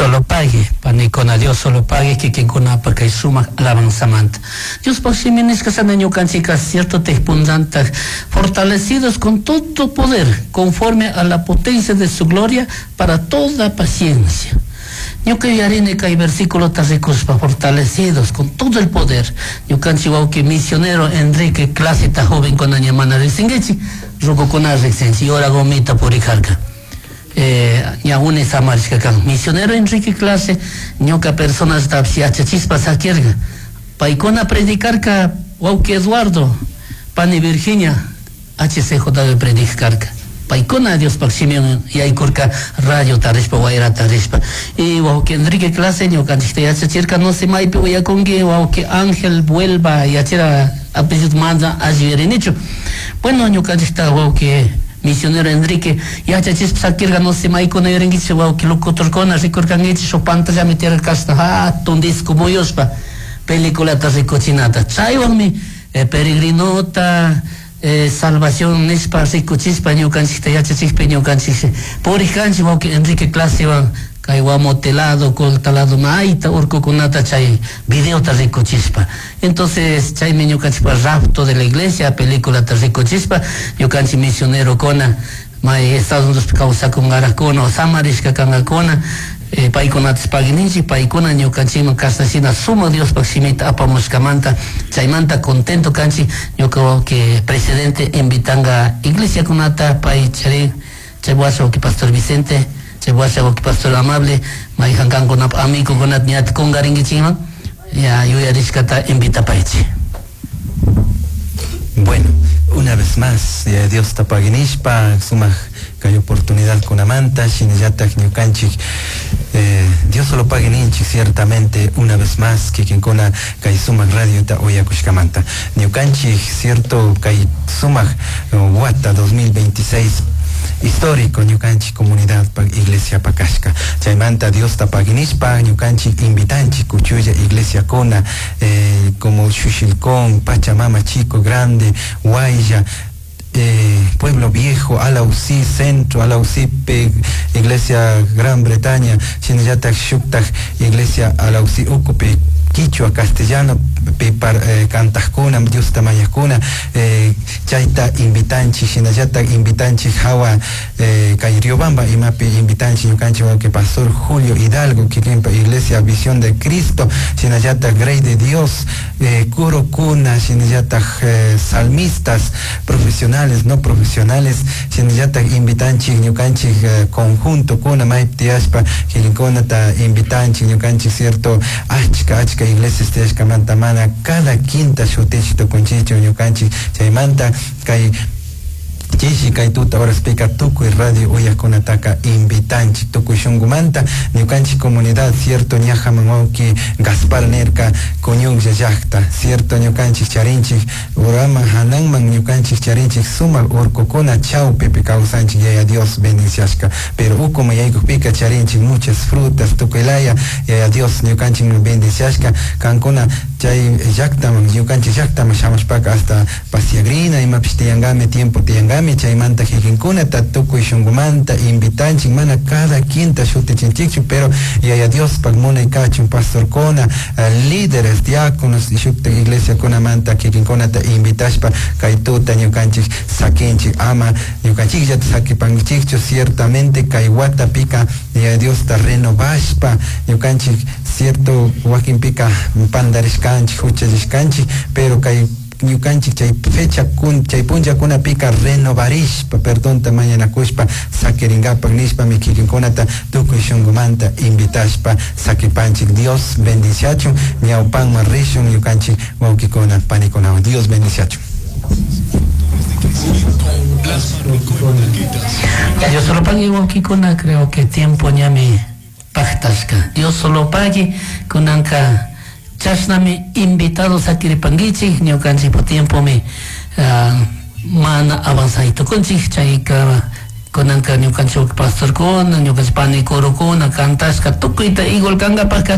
Solo pague, panikuna, Dios solo pague kikinkunapaq kay sumaq alabanzamanta. Diospaq simi nishka ñukanchika cierto punllanta fortalecidos con todo poder, conforme a la potencia de su gloria, para toda paciencia. Ñuka yuyarini kay versículo rikuspa fortalecidos con todo el poder. Ñukanchik wawki misionero Enrique Claseta jovenkuna ña mana riqsinkichik, rukukuna riqsinchik, yura gomita purijarka. Ña uni samarishka kan. Misionero Enrique Clase ñuka personasta yachachispa sakirka. Paykuna predicarka wawki Eduardo, pani Virginia, HCJ predicarka. Paykuna Diospaq simin yaykurka radio tarishpa, wayra tarishpa. Y wawki Enrique Clase ñukanchikta yachachirka, no sé maypi uyakunki, wawki Ángel Vuelva yachira apellido mana alli yuyarinichu. Bueno, ñukanchikta wawki misionero Enrique yachachispa sakirka, no sé maykuna yuyarinkichik, wawki locutorkuna rikurkankichik shuk pantallami tiyarka hatun disco muyushpa peliculata rikuchinata. Chaywanmi peregrinota salvación nishpa rikuchispa ñukanchikta yachachikpi ñukanchik purikanchik wawki Enrique Clasewan kay Guamotelado, Coltalado, mayta urkukunata chay videota rikuchispa. Entonces chaymi ñukanchikpa rapto de la iglesia peliculata rikuchispa ñukanchik misionerokuna may Estados Unidos kawsakunkarakuna o samarishka kankakuna paykunatas paguininchik, paykuna ñukanchikman kashnashina sumak Diospaq shimita apamushkamanta chaymanta contento kanchik. Ñuka wawki presidente invitanka iglesiakunata pay charin chay washa wawki pastor Vicente, chay washa wawki pastor Amable, mayjan kankunapa amigokunata ñata kunkarinkichikman ya yuyarishkata invitapaychik. Bueno, una vez más, Dios paginishpa, sumak kay oportunidad kunamanta, shinallatak ñukanchik, Dios solo paguininchik ciertamente una vez más, kikinkuna kay sumak radiota uyakushkamanta. Ñukanchik cierto kay sumak wata 2026 histórico ñukanchik comunidad pa iglesia pakashka. Chaymanta Diosta paginishpa ñukanchik invitanchik kuchulla iglesia kuna, como Xuxilcón, Pachamama Chico Grande, Guaya, Pueblo Viejo, Alausí Centro, Alausí Iglesia Gran Bretaña, shinallatak shuktak Iglesia Alausí Ucupi, Quichua, Castellano, pipar, kantajkuna, Diosta mañajkuna, chayta invitanchik, shinallatak invitanchik hawa, kay Riobamba imapi invitanchik ñukanchik wawqi Pastor Julio Hidalgo, kikinpa Iglesia Visión de Cristo, shinallatak Grey de Dios, kurukuna, shinallatak, salmistas profesionales, no profesionales, shinallatak invitanchik ñukanchik, conjunto kuna maypi tiyashpa kikinkunata invitanchik ñukanchik cierto achka achka iglesias tiyashkamanta mana cada quinta shutichi tukunchichu ñukanchik chaymanta kay chishi kay tuta horaspika tukuy radio uyakunataka invitanchik tukuy shunkumanta ñukanchik comunidad cierto ñajaman wawki Gaspar nerka kuñuklla llakta cierto ñukanchik charinchik uraman hananman ñukanchik charinchik sumak urkukuna chawpipi kawsanchik Yaya Dios bendiciashka pero ukuman yaykukpika charinchik muchas frutas tukuy laya Yaya Dios ñukanchikman bendiciashka kankuna chay llaktaman ñukanchik llaktaman shamushpaka hasta pasiagrina imapish tiyankami tiempo tiyankami chaymanta kikinkunata tukuy shunkumanta invitanchik mana cada quinta shutichinchikchu pero Yaya Diospaq munay kachun pastorkuna, líderes, diáconos y shuktak iglesiakunamanta kikinkunata invitashpa kay tuta ñukanchik sakinchik ama ñukanchikllata sakipankichikchu ciertamente kay watapika Yaya Diosta renovashpa ñukanchik cierto wakinpika pandarishkanchik huchallishkanchik pero kay ñukanchik chay fecha kun chay punllakunapika renovarishpa perdonta mañanakushpa sakirinkapak nishpami kikinkunata tukuy shunkumanta invitashpa sakipanchik Dios bendiciachun ñawpanman rishun ñukanchik wawkikuna panikunawan Dios bendiciachun. Dios solo pague wawkikuna, creo que tiempo ñami paktashka. Dios solo pague kunanka chashnami invitados sakiripankichik ñukanchikpa tiempomi mana avanzay tukunchik chayka kunanka ñukanchik pastorkuna ñukanchik panikurukuna kantashka tukuyta igual kankapakka.